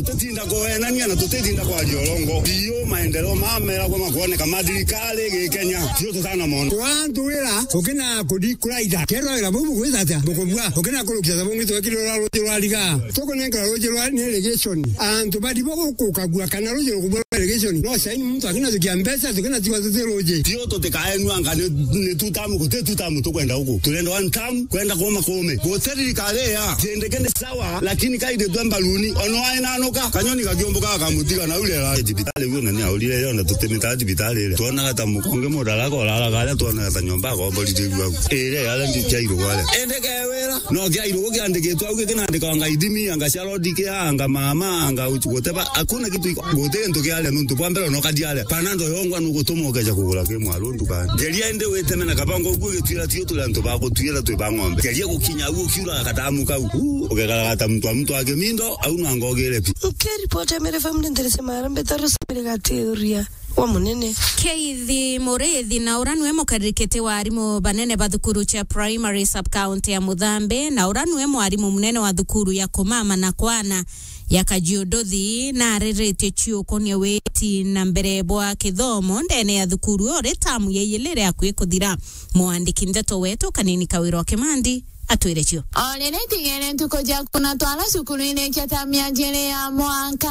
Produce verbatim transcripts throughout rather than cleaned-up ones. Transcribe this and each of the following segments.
Tutinda kuenania na tutitinda kwaria urongo. Iyo maendeleo mameragwa makuoneka ma thirikari gi Kenya, tio tutana mono. Kwa antu wira, ukina kudi kuraitha. Kerwa wira buu bugwita atia? Bukubua. Ukina kurukia ta bungi twekire ura ruji rwa riga. Tukunengera ruji rwa irrigation. Antu bari bo gukukagua kana ruji rukubua rwa irrigation. No saini muntu akina tukia mbeca, tukina tigwa tuti ruji. Tio tutikaenua anga ni, ni two term, guti two term tukwenda guku. Turenda one term, kwenda kuuma kuume. Guti thirikari ya. Tindike ni sawa, lakini kaindi twe mbaruni. Ono aenanuka, kanyoni gakiumbuka gakamutiga na uria era. Thibitari guo na ni aurire yo na tutimita thibitari ire. Twonaga ta mukonge muraraga uraraga aria twonaga ta nyomba akomborire guo. Ire aria ndi kiairu gwale. Ende ke wira. No kiairu guo kiandikitwe au gikinandika anga ithimi, anga cia road kia, anga mama, anga uchu guteba. Hakuna kitu iko. Guti gintu kiaria nuntu bwa mbere no kadiaria. Panando yongwa nugutuma ukeja kugura ki mwaru nduka. Geria indi witeme na kabango guo gitwira tio turi antu ba gutwira twi ba ng'ombe. Geria gukinya au ukiura katamu kau. Uu, ugekaraga ta muntu wa muntu wa kimindo, au no anga ugire pi. Nkiripoti ya Meru F M ni nderese mara mbeta Rosemary Gatiuria wa Munene. Keithi Muriithi na ura niwe mukaririkiti wa arimu banene ba thukuru cia primary sub-county ya Muthambi, na ura niwe mwarimu munene wa thukuru ya Kumama na Kwana ya Kajiuduthi, na ariritie ciukunia witi na mbere bwa kithomo ndene ya thukuru uri tamu ya iyili ri akui kuthira. Mwandiki ndeto wetu Kanini Kawira wa Kimandi atwire cio. O riri tigere ntuku cia kuna twara cukuru irikia ta miajiri ya mwaka.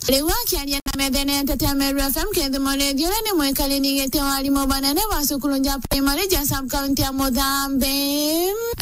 Riu akiaria na methenete tia Meru F M, Keithi Muriithi uria ni mwikariri giti wa arimu banene ba cukuru ja primary ja sub-county ya Muthambi,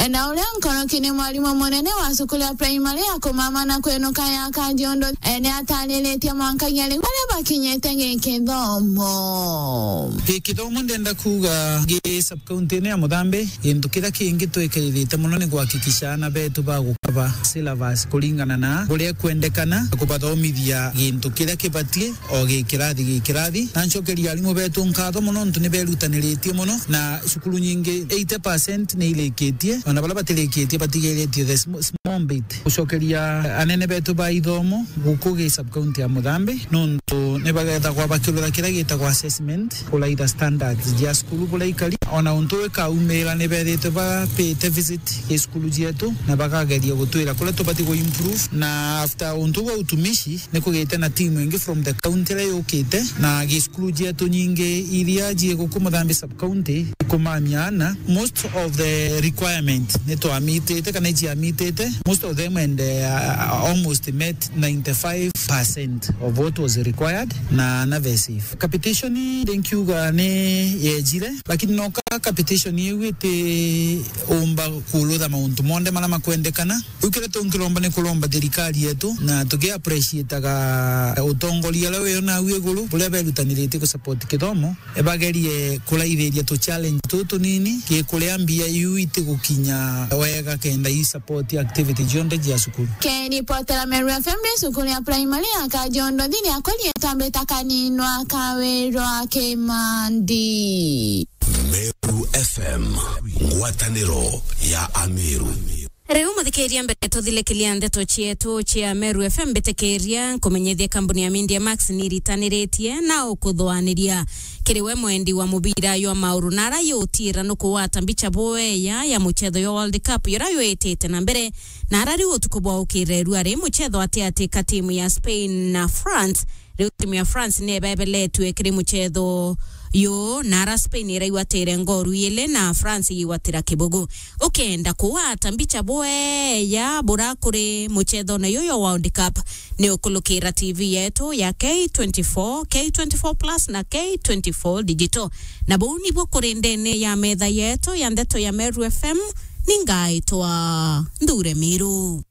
na uria nkoroki ni mwarimu munene wa cukuru ya primary ya Kumama na Kwenuka ya Kajiuduthi, ni atariritie mwanka ya riu baria bakinyite gikithomo. Gikithomo ndenda kuuga gi sub-county-ini ya Muthambi, gintu kiria kingi twikirite mono ni kuhakikisha aana betu bagukaba syllabus kuringana na buria ikwendekana, kubathomithia gintu kiria kibatie o gi kirathi gi kirathi. Na ncokeria arimu betu nkatho mono nontu ni berutaniritie mono, na cukuru nyingi eighty percent ni irikitie, ona baria batirikitie batigiritie the sm-, small bit. Gucokeria anene betu ba ithomo guku gi sub-county ya Muthambi, nontu ni bagethagwa bakirutha kiria gitagwa assessment, kuraitha standards cia cukuru buria ikari. Ona untu ikaumira ni bethite bapite visit gi cukuru cietu, na bakageria gutwira kuria tubati ku improve. Na after untu bwa utumishi, ni kugite na team ingi from the county iria yukite, na gi cukuru cietu nyingi iria cie guku Muthambi sub-county ikumamia aana. Most of the requirement ni twamitite kana iciamitite, most of them, and uh, almost met ninety-five percent of what was required, na na very safe. Capitation ndi nkiuga ni yejire, lakini noka capitation iu iti umba kurutha mauntu monthe maria makwendekana. Riu kiria tunkiromba ni kuromba thirikari yetu, na tuki appreciataga utongoria uria wio nau iguru, buria berutaniritie ku support kithomo, bagerie kuraithiria tu challenge tutu tunini, ki kuria mbia iu itigukinya wega kenda i support activity cionthe cia cukuru. Kiripotera Meru F M, ni cukuru ya primary ya Kajiuduthi ni akori itambita Kaninwa Kawirwa Kimandi. Meru F M, ngwataniro ya Ameru. Riu muthikiria, mbere tuthirikiria ndeto cietu cia Meru F M, mbitikiria nkumenyithie kambuni ya Media Max ni iritaniritie na ukuthwaniria kiri we mwendi wa mubira jwa mauru, na ara yutiira nukugwata mbicha bweya ya muchetho jwa World Cup jura jwitite na mbere, na ara riu utuku bwa ukirerua ri muchetho atiati ka timu ya Spain na France. Riu timu ya France ni ibebeletue kiri muchetho yu, na ara Spain iraigwatire ngoru ili na France igigwatira kibugu. Ukenda kugwata mbicha bweya bura kuri muchethone yu jwa World Cup, ni ukulukira T V yetu ya K twenty-four, K twenty-four plus na K twenty-four Digital. Na buu nibuo kuri ndene ya metha yetu ya ndeto ya Meru F M, ni ngaitwa Nthure Miru.